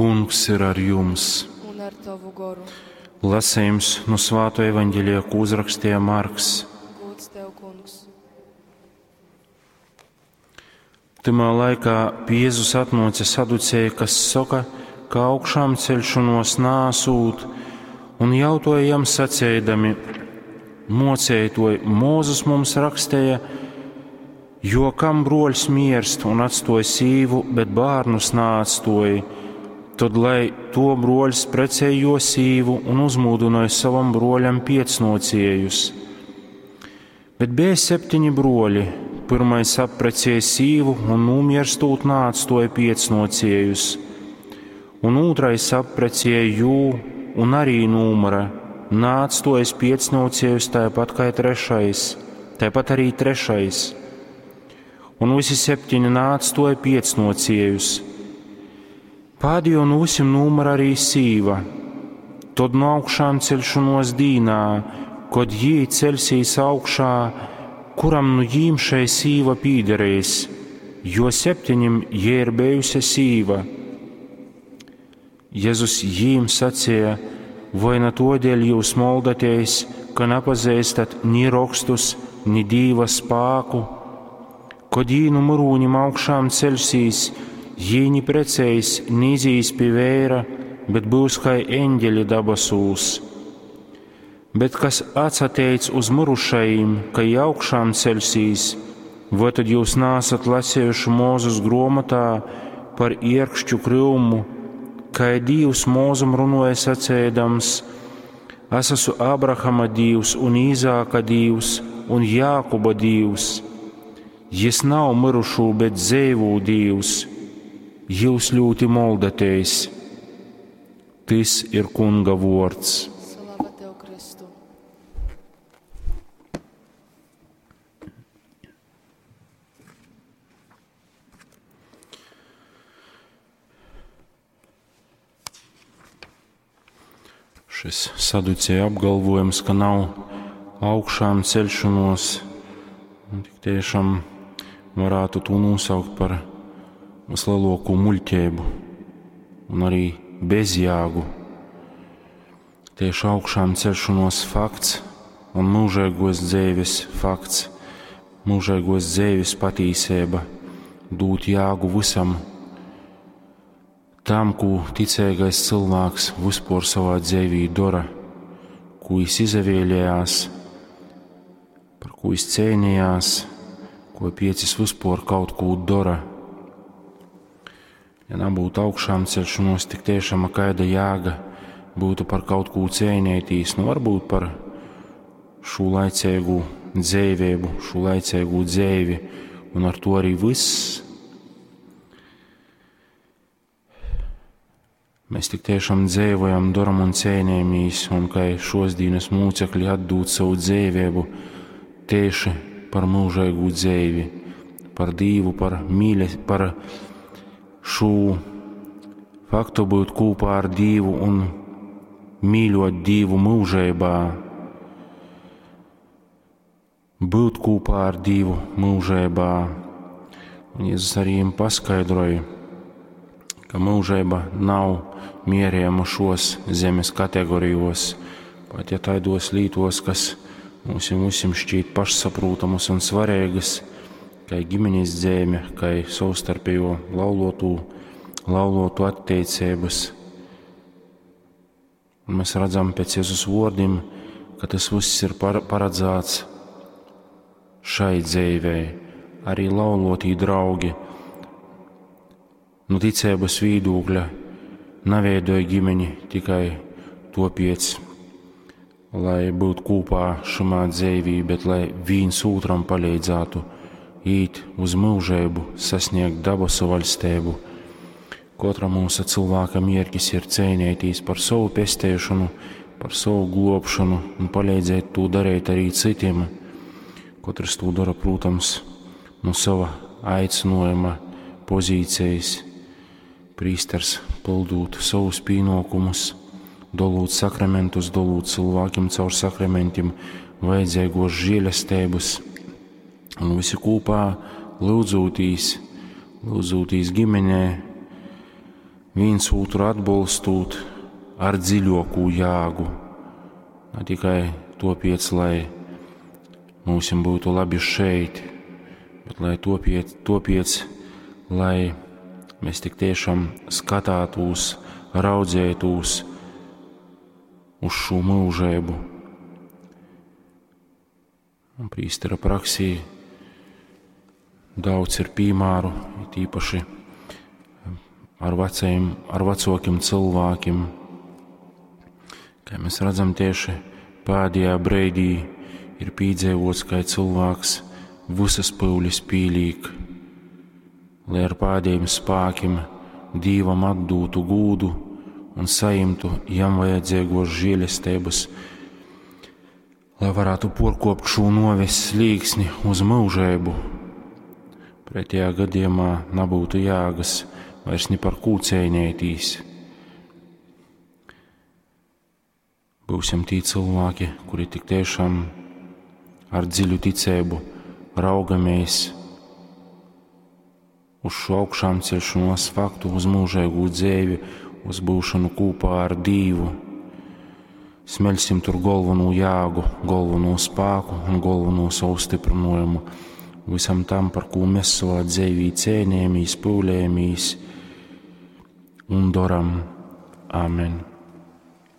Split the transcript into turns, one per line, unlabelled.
Kungs ir ar jums!
Un ar tovu goru.
Lasījums no Svāto evaņģēlija, ko uzrakstīja Marks.
Gods tev, kungs.
Tymā laikā pie Jēzus atnāca saducēji, kas saka, ka augšām ceļšanos nāsūt, un jautāja jam sacēdami: Mocētoj, Mūzes mums rakstēja, jo kam broļs mierst un atstoja sīvu, bet bērnus nāatstoja, tad lai to broļs precēja jo sīvu un uzmūdināja savam broļam piecnociejus. Bet bija septiņi broļi. Pirmais apprecēja sīvu un nomierstot nāatstoja piecnociejus, un otrais apprecēja jū un arī numura, nāatstojas piecnociejus tāpat kā trešais, tāpat arī trešais. Un visi septiņi nāatstoja piecnociejus. Pēdējo no visiem numura arī sīva. Tad no augšām celšanos dīnā, kad jī celsīs augšā, kuram nu jīm šai sīva pīderēs, jo septiņim jē ir bijusi sīva. Jēzus jīm sacīja, vai na todēļ jūs moldaties, ka nepazīstat ni rakstus, ni dīva spāku? Kad jī nu murūņim augšām celsīs, jī ni precēs, ni izīs pie vēra, bet būs kā eņģeļi dabasūs. Bet kas atsateic uz murušajiem, ka jī augšām celsīs, vai tad jūs nāsat lasējuši Mūzes grāmatā par ierkšķu kryumu, kā Dievs Mūzum runāja sacēdams: Es esmu Abrahama Dievs un Īzāka Dievs un Jākuba Dievs. Jis nav mirušo, bet dzīvo Dievs. Jūs ļoti moldaties. Tis ir Kunga vords.
Slava tev, Kristu.
Šis saducēja apgalvojums, ka nav augšām celšanos, un tik tiešām varētu to nosaukt par vislielāko muļķību un arī bezjāgu. Tieši augšām celšanos fakts un mūžīgos dzīves fakts, mūžīgos dzīves patīsība dūt jāgu visam tam, ko ticīgais cilvēks vispār savā dzīvī dara, ko viņš izvēlējās, par ko viņš cīnījās, ko piecis vispār kaut ko dara. Ja nebūtu augšām celšanos, tik tiešām kāda jēga būtu par kaut ko cīnīties, nu varbūt par šo laicīgu dzīvību, šo laicīgu dzīvi, un ar to arī viss. Mēs tik tiešām dzīvojam, daram un cīnāmies, un kā šos dienas mūcekļi atdūt savu dzīvību tieši par mūžīgu dzīvi, par Dievu, par mīle, par šo faktu būt kopā ar Dievu un mīļot Dievu mūžībā. Būt kopā ar Dievu mūžībā. Un Jēzus arī viņiem paskaidroja, ka mūžība nav mierējama šos zemes kategorijos, pat ja taidos lītos, kas mums visiem šķiet pašsaprotamas un svarīgas, kā ģimenes dzīve, kā savstarpējo laulotu attiecības. Un mēs redzam pēc Jēzus vārdiem, ka tas viss ir paredzēts šai dzīvei, arī laulotī draugi. No ticības vīdūkļa neveidoja ģimeni tikai topiec, lai būtu kopā šamā dzīvī, bet lai viens otram palīdzētu īt uz mūžību, sasniegt dabasu valstību. Katra mūsu cilvēka mērķis ir cīnīties par savu pestēšanu, par savu globšanu un palīdzēt to darīt arī citiem. Katrs to dara, protams, no sava aicinājuma pozīcijas. Prīsters pildot savus pienākumus, dolūt sakramentus, dolūt cilvēkiem caur sakramentiem vajadzīgos žēlestības, un visi kopā lūdzūtīs, lūdzūtīs ģimenē, vīns ūtru atbolstūt ar dziļuokū jāgu. Ne tikai tuopiec, lai mūsim būtu labi šeit, bet lai tuopiec, tuopiec, lai mēs tik tiešām skatātūs, raudzētūs uz šo mūžību. Un prīstera praksī daudz ir piemēru, it īpaši ar vecajiem, ar vecākiem cilvēkiem. Kā mēs redzam, tieši pēdējā brīdī ir piedzīvots, kā cilvēks visas pūles pīlīk, lai ar pēdējiem spēkiem Dievam atdūtu gūdu un saimtu jam vajadzīgos žēlestības, lai varētu porkopt šo noves slīksni uz mūžību. Pretējā gadījumā nebūtu jēgas vairs ni par ko cīnīties. Būsim tie cilvēki, kuri tik tiešām ar dziļu ticību raugamies uz šo augšām celšanos faktu, uz mūžīgu dzīvi, uz būšanu kopā ar Dievu. Smeļsim tur galveno jēgu, galveno spēku un galveno savu stiprinājumu visam tam, par ko mēs savā dzīvī cēnījāmies, pūlējāmies un darām. Āmen!